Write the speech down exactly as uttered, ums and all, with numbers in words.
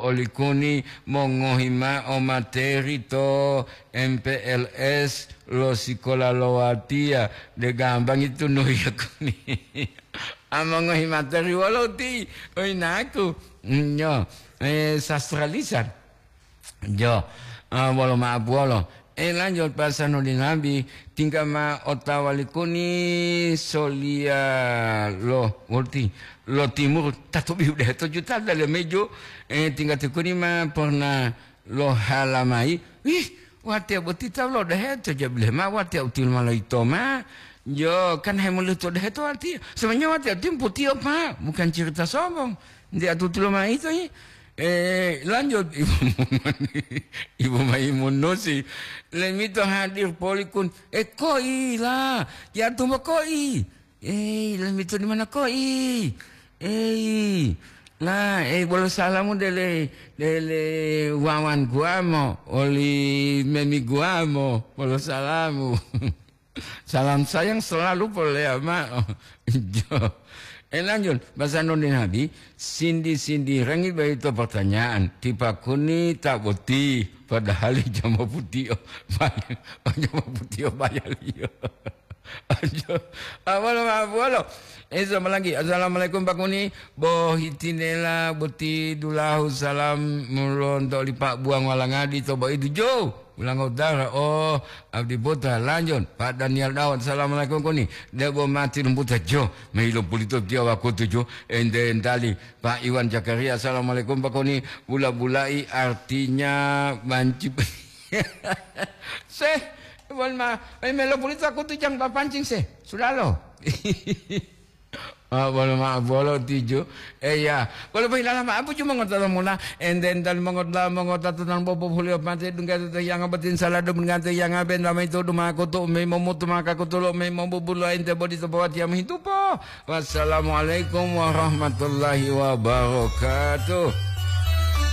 Olikuni mongohi mao materi to M P L S lo sikola lo watiya, de gambangi tunuhiya kuni. A mongohi materi wolo ti, oinaku, nyo, eh, sastra lisan. Jo, ah, wolo ma'apuwolo. Eh, lanjut pasanu li nabi, tingga ma otawa likuni soliya lo, wolti, lo timur, tatobi udah to juta dalam mejo, eh, tingga tikuni ma pernah lo halamai, wih, watiya boti tawu lo deheto, jabile ma watiya util malaito ma, jo, kan hemuluto deheto watiya, sebenarnya watiya util putiyo pa, bukan cerita sombong, nti atutulo ma ito, eh, lanjut, Ibu Maimunusi, lemito hadir polikun, eh, koi la, ya tumbo koi, eh, lemito di mana koi, eh, la, eh, bolo salamu dele, dele wawan guamo, oli memi guamo, bolo salamu. Salam sayang selalu polea ma'o. Jo. Eh, lanjut, bahasa Indonesia nabi, sindi-sindi rangi bayi to pertanyaan, tipa kuni tak boti, padahal jama putih, oh, bayar, oh, jama putih, oh, bayar, iya. Ajo, awalo, awalo. Eh, sama lagi. Assalamualaikum, Pak Kuni. Bohitinela boti dulahu salam mulonto li Pak Buang Walangadi to Baidu Jo. Ulang utara, oh, abdi buta lanjut. Pak Daniel Daud, assalamualaikum Kuni. Debo mati lumputa Jo. Mailo pulito tiawa kutu Jo. Ente entali. Pak Iwan Zakaria, assalamualaikum Pak Kuni. Bula-bulai artinya banci. Seh, bon ma, eh, melo pulito aku tu jang papancing seh. Sudalo. Ah, bolo ma, bolo tiju. Eh, ya. Bolo pohilala ma, abu cuma ngotolo mula. Enten tal mongotla, mongota tunan bobo hulio pate, dungga tu yang abatin salah dum ngate yang aben ramai tu duma kutu, mei momutu maka kutulo, mei mobubulo ente bodi to bawat yang hitupo. Wassalamualaikum warahmatullahi wabarakatuh.